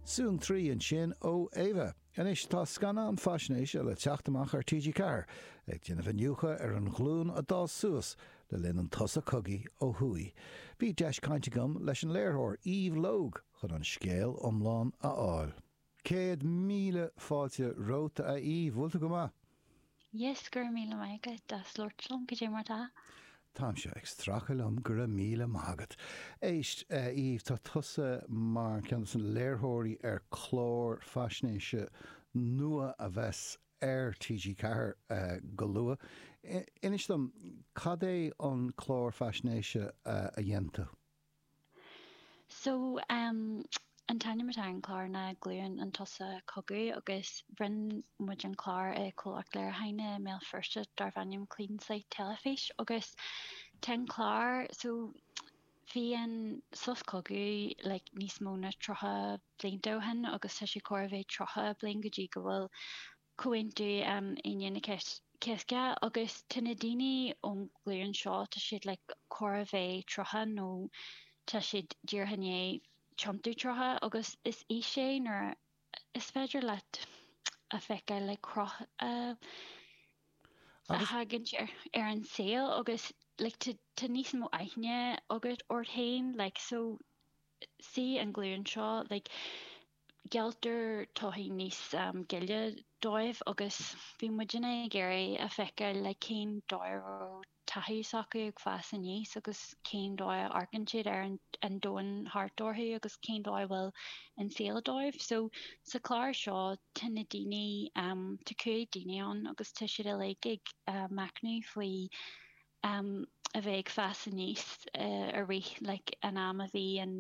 Soon 3 ansin ó Ava. Anois tá scannán faisnéise le teacht amach ar TG4 ag déanamh iniúchadh ar an ghlúin a d'fhás suas le linn an tsosa cogaidh ó thuaidh. Bhí deis caint agam leis an léiritheoir Eve Logue chun an scéal iomlán a fháil. 100,000 fáilte romhat a Eve, bhfuil tú go maith? Yes, go raibh míle maith agat as labhairt liom, cad é mar tá? Táimse ag stracadh liom, go raibh míle maith agat. Éist, a Eve, tá tusa mar cheann de na léiritheoirí ar chlár faisnéise nua a bheas ar TG4 go luath. Inis dom, cad é an clár faisnéise a dhein tú? So, an t-ainm atá ar an chlár ná Glúin an tSosa Cogaidh agus rinne muid an clár i comhlacht léiriúcháin i mBéal Feirste darbh ainm Clean Slate Teilifís agus tá an clár, so bhí an sos cogaidh like níos mó ná 30 blianta ó shin agus tá sé chóir a bheith 30 bliain go dtí go bhfuil Comhaontú Aoine na Cásca agus tá na daoine ón ghlúin seo, tá siad like chóir a bheith 30 nó tá siad díreach i ndiaidh tiontú 30 agus is aois é nuair is féidir leat a feiceáil like cruth a a thagann ar an saol agus like tá níos mó aithne agat ort féin like so sí an ghlúin seo like gealltar todhchaí níos gile dóibh agus bhí muidne ag iarraidh a feiceáil like cén dóigh a raibh taithí s'acu ag fás aníos agus cén dóigh a amharcann siad ar an domhan thart orthu agus cén dóigh a bhfuil an saol dóibh. So sa chlár seo tá na daoine, tá 5 daoine ann agus tá siad uilig ag machnamh faoi a bheith ag fás aníos i rith like an am a bhí an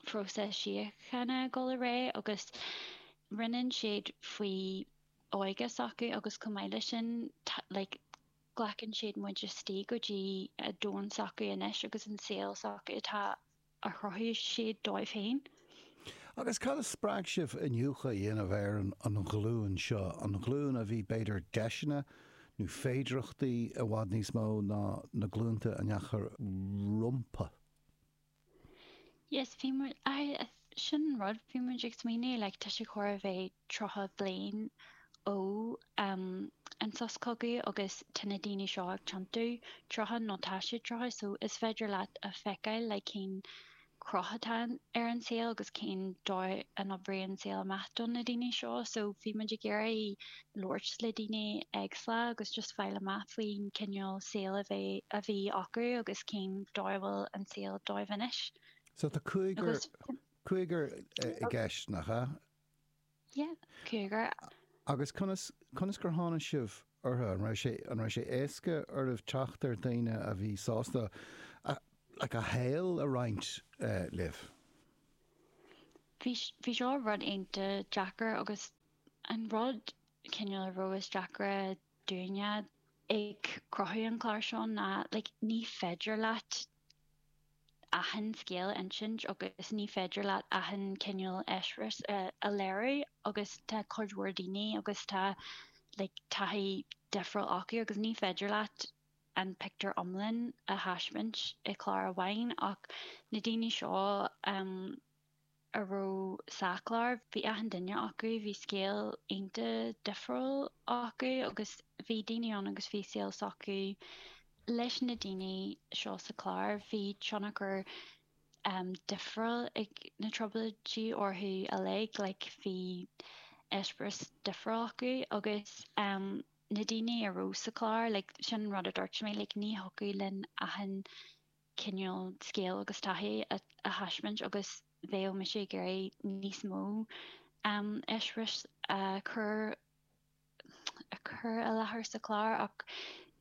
phróiseas síochána ag dul ar aghaidh agus roinneann siad faoi óige s'acu agus chomh maith leis sin like glacann siad muid istigh go dtí a domhan s'acu anois agus an saol s'acu atá a chruthaigh siad dóibh féin. Agus cad a spreag sibh iniúchadh a dhéanamh ar an ghlúin seo, an ghlúin a bhí b'fhéidir deiseanna nó féidireachtaí i bhfad níos mó ná na glúnta a ndeachaigh rompu? Yes, bhí muid, aye, sin an rud, bhí muid ag smaoineamh, like, tá sé chóir a bheith 30 bliain ó um, an sos cogaidh agus tá na daoine seo ag tiontú 30 nó tá siad 30 so is féidir leat a feiceáil like cén cruth atá ar an saol agus cén dóigh a n-oibríonn an saol amach do na daoine seo. So bhí muid ag iarraidh labhairt le daoine éagsúla agus just fáil amach faoin cineál saol a bheith a bhí acu agus cén dóigh a bhfuil an saol dóibh anois. So tá cúigear, cúigear i gceist, nach ea? Yeah, cúigear. Agus conas, conas gur tháinig sibh orthu? An raibh sé, an raibh sé éasca oraibh teacht ar dhaoine a bhí sásta a, like, a shaol a roinnt libh? Bhí, bhí seo rud iontach deacair agus an rud cineál a raibh is deacra dúinne ag cruthú an chlár seo ná like ní féidir leat achan scéal a insint agus ní féidir leat achan cineál eispéireas a léiriú agus tá cuid mhór daoine agus tá like taithí difriúil acu agus ní féidir leat an pictiúr iomlán a thaispeáint i clár amháin ach na daoine seo um a raibh sa chlár. Bhí achan duine acu, bhí scéal iontach difriúil acu agus bhí daoine ann agus bhí saol s'acu leis na daoine seo sa chlár. Bhí tionchar difriúil ag na trioblóidí orthu uilig, like bhí eispéireas difriúil acu agus na daoine a raibh sa chlár, like sin an rud a dúirt mé, like ní thiocfadh linn achan cineál scéal agus taithí a thaispeáint agus bheadh mise ag iarraidh níos mó eispéiris a chur a chur i láthair sa chlár ach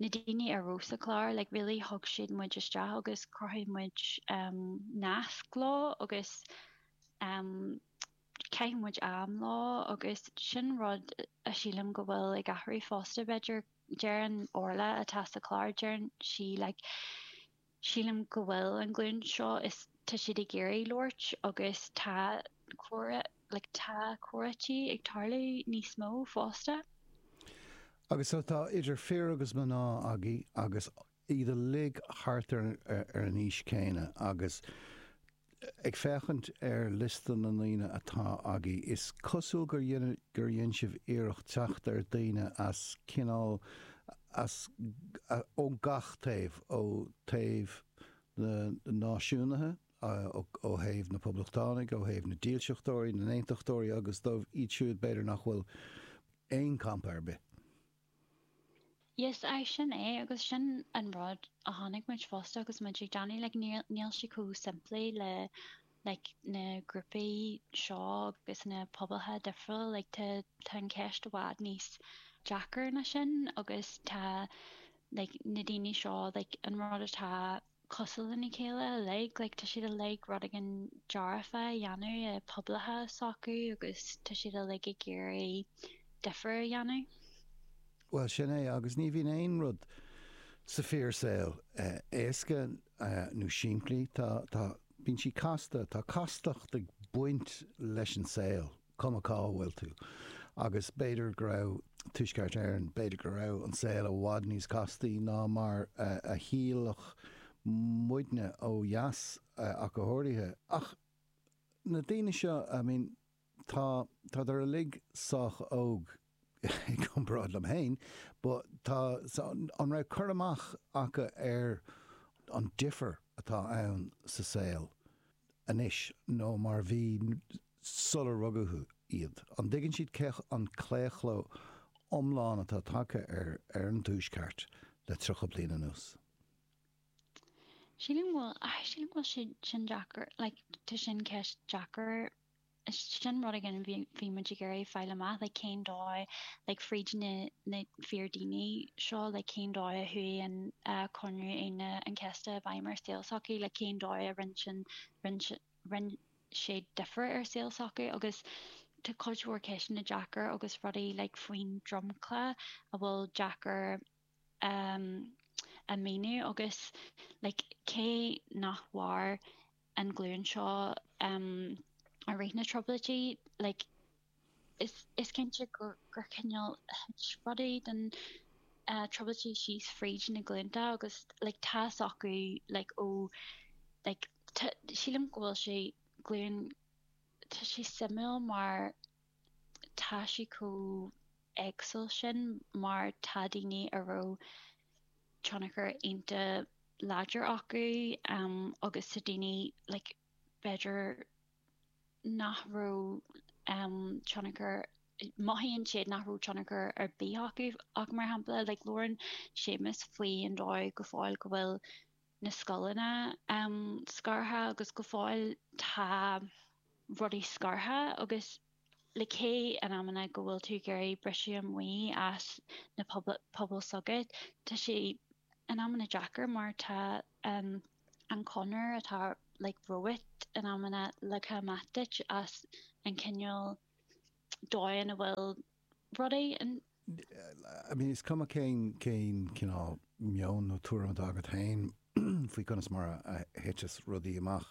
na daoine a raibh sa chlár like really thug siad muid isteach agus chruthaigh muid nasc leo agus chaith muid am leo agus sin rud a sílim go bhfuil ag athrú fosta b'fhéidir Deireann Orla atá sa chlár, deireann sí like sílim go bhfuil an ghlúin seo is tá siad ag iarraidh labhairt agus tá comhrá like tá comhráití ag tarlú níos mó fosta. Agus so tá idir fir agus mná agaibh agus iad uilig thart ar an aois céanna agus. Ag féachaint ar liosta na ndaoine atá agaibh, is cosúil gur dhein, gur dhein sibh iarracht teacht ar daoine as cineál, as, ó gach taobh, ó taobh na náisiúnaithe, ó thaobh na poblachtánaigh, ó thaobh na dílseachtóirí, na n-aontachtóirí agus dóibh iad siúd b'fhéidir nach bhfuil aon campa ar bith. Yes, aye, sin é, agus sin an rud a chonaic muid fosta agus muid ag déanamh, like, níl, níl sé chomh simplí le, like, na grúpaí seo agus na pobalcha difriúla, like, tá, tá an cheist i bhfad níos deacair ná sin agus tá, like, na daoine seo, like, an rud atá cosúil lena chéile uilig, like, tá siad uilig rud éigin dearfa a dhéanamh i pobalacha s'acu agus tá siad uilig ag iarraidh difear a dhéanamh. Bhuel, sin é, agus ní bhíonn aon rud sa fíorshaol éasca nó simplí, tá, tá, bíonn sí casta, tá castacht ag baint leis an saol. cuma cá bhfuil tú. Agus b'fhéidir go raibh Tuaisceart Éireann, b'fhéidir go raibh an saol i bhfad níos castaí ná mar a shílfeadh muidne ó dheas ach go háirithe. Ach na daoine seo, I mean, tá, tádar uilig sách óg i gcomparáid liom féin, but tá, an raibh cur amach acu ar an difear atá ann sa saol anois nó mar bhí sular rugadh iad? An dtuigeann siad cé an claochló iomlán atá tagtha ar ar an Tuaisceart le 30 bliain anuas? Sílim go bhfuil, sílim go bhfuil sé sin deacair, like tá sin ceist deacair Sin rud éigin a bhí muid ag iarraidh fáil amach, like cén dóigh, like fríd na na fíor daoine seo, like cén dóigh a chuaigh an Conradh Aoine an Chéasta i bhfeidhm ar saol s'acu, like cén dóigh a rinne sin, rinne, rinne sé difear ar saol s'acu agus tá cuid mhór ceisteanna deacair agus rudaí like faoin dromchla a bhfuil deacair a míniú agus like cé nach mhair an ghlúin seo i rith na trioblóidí like is is cinnte gur gur cineál thit rudaí den trioblóidí síos fríd na glúnta agus like tá fhios acu like ó like tá sílim go bhfuil sé glúin tá sé suimiúil mar tá sí chomh éagsúil sin mar tá daoine a raibh tionchar iontach láidir acu agus tá daoine like b'fhéidir nach raibh tionchar, mothaíonn siad nach raibh tionchar ar bith acu ach mar shampla like labhrann Séamus faoi an dóigh go fóill go bhfuil na scoileanna scartha agus go fóill tá rudaí scartha agus le cé in amanna go bhfuil tú ag iarraidh briseadh amuigh as na pobail s'agat, tá sé in amanna deacair mar tá an conair atá like romhat in amanna leagtha amach duit as an cineál dóigh ina bhfuil rudaí in I mean, is cuma cén cén cineál meon nó tuairim atá agat féin faoi conas mar a thiteas rudaí amach,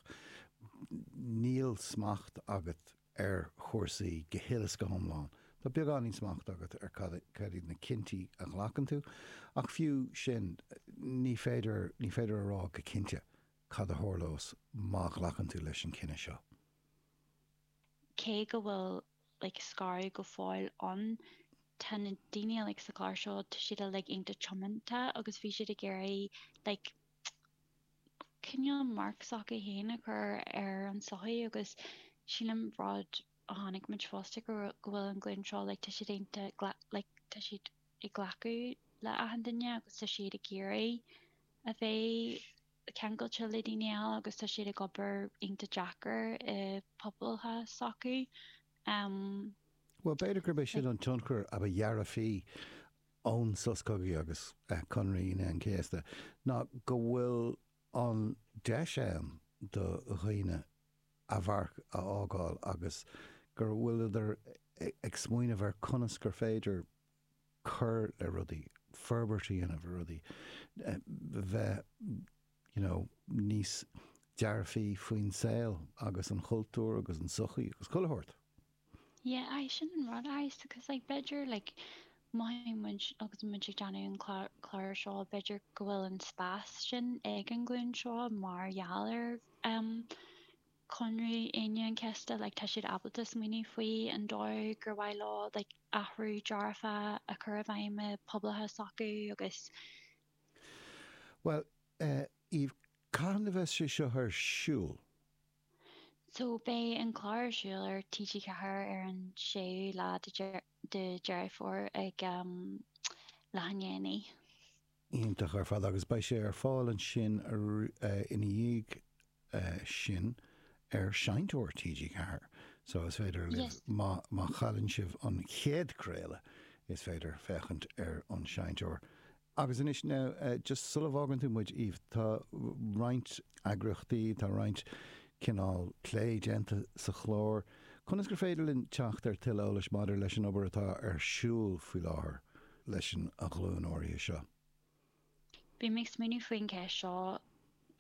níl smacht agat ar chúrsaí go huile is go hiomlán. Tá beagáinín smacht agat ar cad cad iad na cinntí a ghlacann tú, ach fiú sin, ní féidir ní féidir a rá go cinnte cad a tharlós má ghlacann tú leis an cinneadh seo. Cé go bhfuil like scaradh go fóill ann. Tá na daoine uilig sa chlár seo, tá siad uilig iontach tiomanta agus bhí siad ag iarraidh like cineál marc s'acu féin a chur ar an tsochaí agus sílim rud a chonaic muid fosta go go bhfuil an glúin seo like tá siad iontach like tá siad ag glacadh le achan duine agus tá siad ag iarraidh a bheith ceangailte le daoine eile agus tá siad ag obair iontach deacair i bpobalcha s'acu. Bhuel, b'fhéidir gurb é sin an tionchar a ba dhearfaí ón sos cogaidh agus Conradh Aoine an Chéasta, ná go bhfuil an deis ann do dhaoine a mharc a fhágáil agus go bhfuileadar ag smaoineamh ar conas gur féidir cur le rudaí, forbairt a dhéanamh ar rudaí, bheith you know níos dearfaí faoin saol agus an chultúr agus an tsochaí agus chuile shórt. Yeah, aye, sin an rud, aye, because like b'fhéidir like mothaíonn muid agus muid ag déanamh an clár seo, b'fhéidir go bhfuil an spás sin ag an ghlúin seo mar gheall ar um. Conradh Aoine an Chéasta like tá siad ábalta smaoineamh faoi an dóigh gur mhaith leo like athrú dearfa a chur i bhfeidhm i bpobalacha s'acu agus. Bhuel, Eve, cathain a bheas sé seo ar siúl? So beidh an clár ar siúl ar TG4 ar an 6ú lá de Deireadh Fómhair ag leath i ndiaidh a 9. Iontach ar fad agus beidh sé ar fáil ansin ina dhiaidh sin ar Seinnteoir TG4 so is féidir libh má má chailleann sibh an chéad craoladh is féidir féachaint ar an Seinnteoir. Agus anois now just sula bhfágann tú muid Eve tá roinnt eagraíochtaí, tá roinnt cineál plé déanta sa chlár. Conas gur féidir linn teacht ar tuilleadh eolais maidir leis an obair atá ar siúl faoi láthair? leis an ghlúin áirithe seo. Bhí mé ag smaoineamh faoin cheist seo,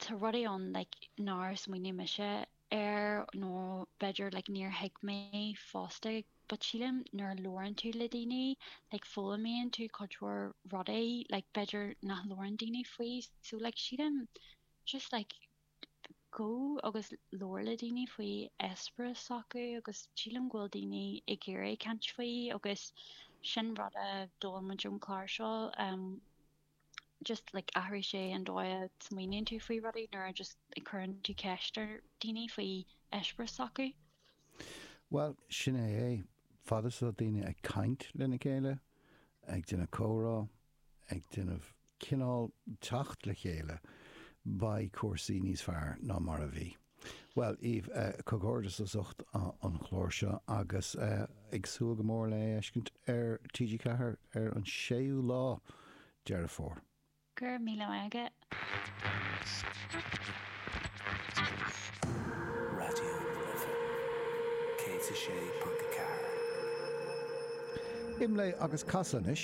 tá rudaí ann like nár smaoinigh mise air nó b'fhéidir like níor thuig mé fosta but sílim nuair a labhrann tú le daoine like foghlaimíonn tú cuid mhór rudaí like b'fhéidir nach labhrann daoine faoi so like sílim just like Gabh agus labhair le daoine faoi eispéireas s'acu agus sílim go bhfuil daoine ag iarraidh caint faoi agus sin rud a d'fhoghlaim muid ón chlár seo just like athraigh sé an dóigh a smaoiníonn tú faoi rudaí nuair a just cuireann tú ceist ar daoine faoi eispéireas s'acu. Bhuel, sin é é. Fad is atá daoine ag caint lena chéile, ag déanamh comhrá, ag déanamh cineál teacht le chéile, beidh cúrsaí níos fearr ná mar a bhí. Bhuel, Eve, comhghairdeas as ucht an chláir seo agus ag súil go mór le é a fheiscint ar TG4 ar an 6ú lá Deireadh Fómhair. Go raibh míle maith agat. Raidió na Life 106.4. Imlé agus Casadh anois.